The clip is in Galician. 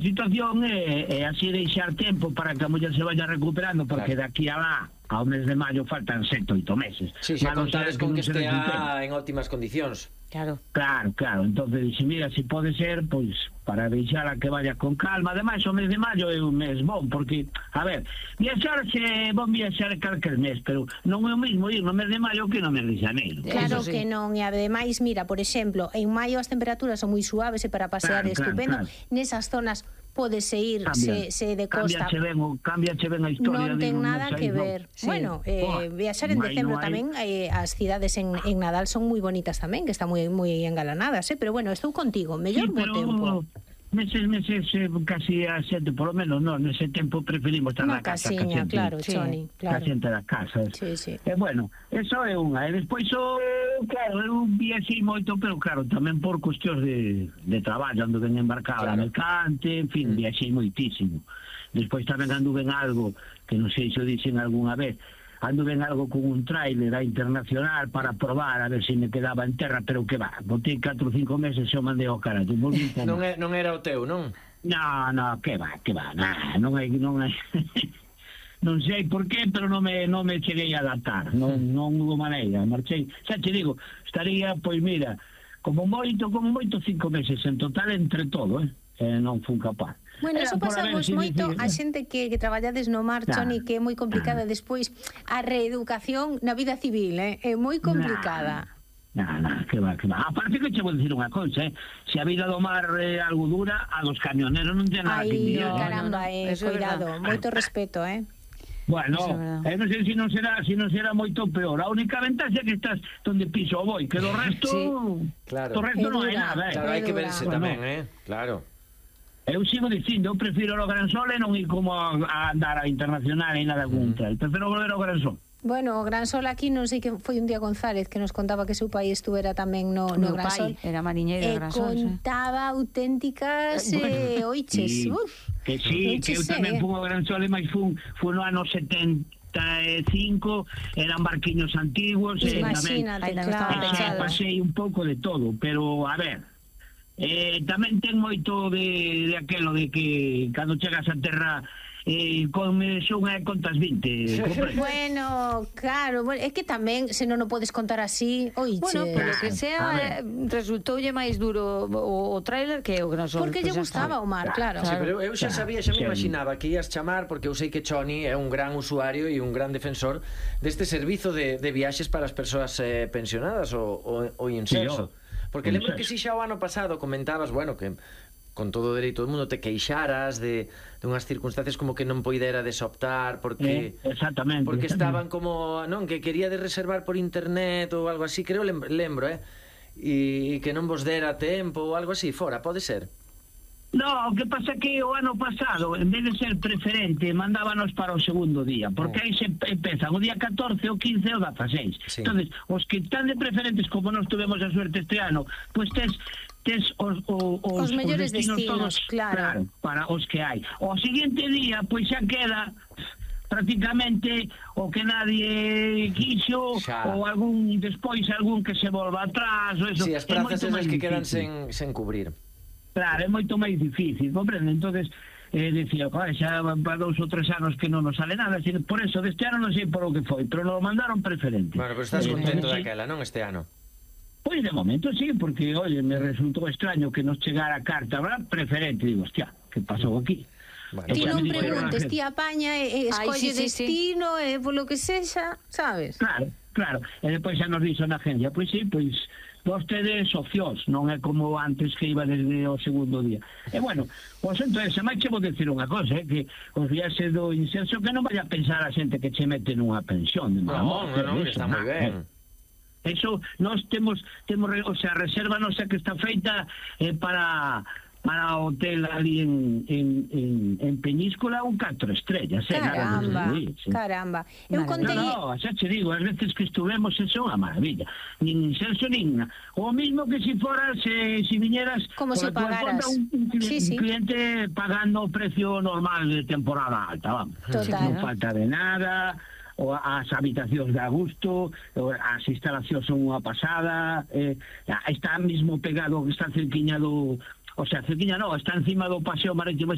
situación é así deixar tempo para que a muller se vaya recuperando, porque daqui a lá ao mes de maio faltan 7 ou 8 meses. Si, xa contades con que estea en óptimas condicións. Claro. Claro, entonces dixe, mira, se pode ser, pois, para deixala que vaya con calma. Ademais, o mes de maio é un mes bon, porque, a ver, viaxarse, bon viaxar calquer mes, pero non é o mismo ir no mes de maio que no mes de xaneiro. Claro que non, e ademais, mira, por exemplo, en maio as temperaturas son moi suaves e para pasear é estupendo. Nesas zonas pódese ir se de costa. Cambiache ben a historia. Non ten nada que ver. Bueno, viaxar en decembro tamén, as cidades en Nadal son moi bonitas tamén, que están moi engalanadas, pero bueno, estou contigo, mellor bo tempo. Meses, casi a 7, por lo menos, non, nese tempo preferimos estar na casa. Unha casiña, claro, Choni, claro. A xente da casa. Sí. Bueno, eso é unha. E despois, claro, eu viaxei moito, pero claro, tamén por cuestións de traballo, ando ben embarcado na mercante, en fin, viaxei moitísimo. Despois tamén ando ben algo, que non sei se o dixen algunha vez, ando ben algo con un tráiler a internacional para probar a ver se me quedaba en terra, pero que va, botei 4 ou 5 meses e o mandei ao carallo. Non era o teu, non? No, que va, non hai non sei por qué, pero non me cheguei a adaptar, non hubo maneira, marchei, xa te digo, estaría, pois mira, como moito 5 meses en total entre todo, non fun capaz. Bueno, eso pasamos moito a xente que traballades no mar, Choni, que é moi complicada despois a reeducación na vida civil, é moi complicada. Que va. Aparte que che vou dicir unha cousa, se a vida do mar é algo dura, a dos camioneros non ten nada que mirar. Ai, caramba, cuidado, moito respeto, Bueno, non sei se non será moito peor. A única ventaxa é que estás donde piso o boi, que do resto do resto non hai nada. Claro, hai que verse tamén, claro. Eu sigo dicindo, eu prefiro o Gran Sol e non ir como a andar a internacional e nada contra. Prefiro volver ao Gran Sol. Bueno, o Gran Sol aquí non sei que foi un día González que nos contaba que seu pai estuvera tamén no Gran Sol. Era mariñeiro do Gran Sol. Contaba auténticas oiches. Que sí, que eu tamén fui ao Gran Sol e máis fui no ano 75, eran barquiños antiguos. Imagínate, claro. Pasei un pouco de todo, pero a ver, tamén ten moito de aquelo de que cando chegas a terra son contas 20. Bueno, claro, é que tamén se non o podes contar así, oiche. Bueno, polo que sea, resultoulle máis duro o tráiler que o Gran Sol. Porque lle gustaba o mar, claro. Sí, pero eu xa sabía, xa me imaginaba que ías chamar, porque eu sei que Choni é un gran usuario e un gran defensor deste servizo de viaxes para as persoas pensionadas ou inserso. Porque lembro que si xa o ano pasado comentabas, bueno, que con todo o dereito do mundo te queixaras de unhas circunstancias como que non poiderades optar porque estaban como, non, que queríades reservar por internet ou algo así, creo, lembro, e que non vos dera tempo ou algo así, fora, pode ser? No, o que pasa que o ano pasado, en vez de ser preferente, mandábanos para o segundo día, porque aí se empezan o día 14, o 15 e o 16. Entonces, os que están de preferentes, como nos tuvemos a suerte este ano, pues tes os mellores destinos todos, claro, para os que hai. O seguinte día, pois xa queda prácticamente o que nadie quixo, ou despois algún que se volva atrás, ou eso. Si, as prazas esas que quedan sen cubrir. Claro, é moito máis difícil, comprende? Entonces, decía, xa para 2 ou 3 anos que non nos sale nada, por eso, deste ano non sei por o que foi, pero nos mandaron preferente. Bueno, pero estás contento daquela, non, este ano? Pois de momento sí, porque, oye, me resultou extraño que nos chegara a carta, ¿verdad? Preferente, digo, hostia, que pasou aquí? Ti non preguntes, ti apaña e escolle destino e polo que sexa, sabes? Claro, e depois xa nos dixo na agencia, pois sí, pois vostedes socios, non é como antes que iba desde o segundo día. E bueno, pois entonces, se máis che vou decir unha cosa, que os viaxes do inserso que non vaya a pensar a xente que che mete nunha pensión. Non, está moi ben. Eso, nós temos, o sea, a reserva nosa que está feita para hotel ali en Peñíscola un 4 estrellas. Caramba. Eu contei... No, xa che digo, as veces que estuvemos eso é unha maravilla. Nin inserso, nin... O mismo que si foras, si viñeras... Como se pagaras. Un cliente pagando o precio normal de temporada alta, vamos. Total. Non falta de nada... as habitacións de gusto, as instalacións son unha pasada, está mesmo pegado, está cerquiña do... O sea, cerquiña non, está encima do paseo marítimo